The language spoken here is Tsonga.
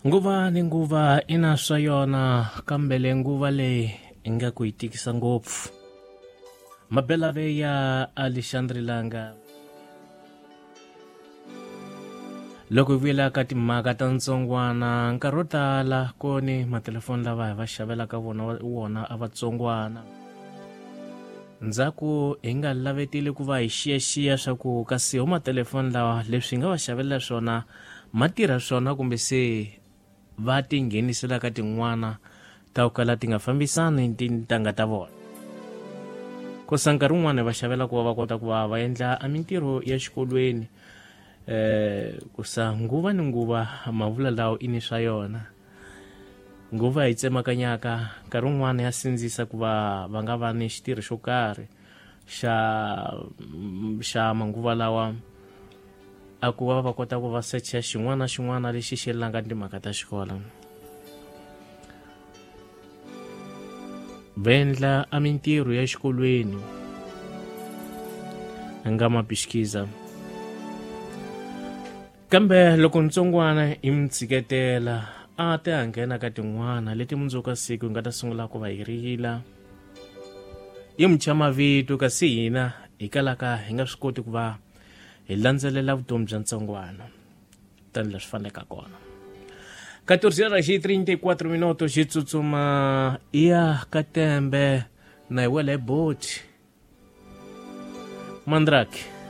Nguva ni nguva i na swa yona, kambe le nguva leyi ingaku yi tikisa ngopfu. Mabelave ya Alexandre Langa. Loko hi vuyela ka timhaka ta ntsongwana, nkarhi wo tala koni matelefoni lava hi va xavelaka vona wona a vatsongwana. Ndzhaku hi nga lavetile ku va hi xiyaxiya swa ku kasi ho matelefoni lawa leswi hi nga va xavelela swona ma tirha swona kumbe se va tinghenisela ka tin'wana ta ku kala ti nga fambisani tintangha ta vona. Kosa nkarhi wun'wana va xavela ku va va kota ku va va endla a mintirho ya xikolweni, kusa nguva ni nguva mavula lawo i ni swa yona. Nguva yi tsemakanyaka nkarhi wun'wana ya sindzisa ku va va nga va ni xitirho xo karhi xa manguva lawa a ku va va kota ku va secha xin'wana na xin'wana lexi xi yelaka timhaka ta xikolo. Va endla a mintirho ya xikolweni nga mapixikiza, kambe loko ntsongwana i mi tshiketela a ta ya nghena ka tin'wana leti mundzuku ka siku hi nga ta sungula ku va hi rila yi mi thya mavito, kasi hina hi kalaka hi nga swi koti ku va hi landzelela vutomi bya ntsongwana tani leswi faneleke kona. 14 horas e 34 minutos, xi tsutsuma ya ka tembe na hi wela hi boti Mandrake.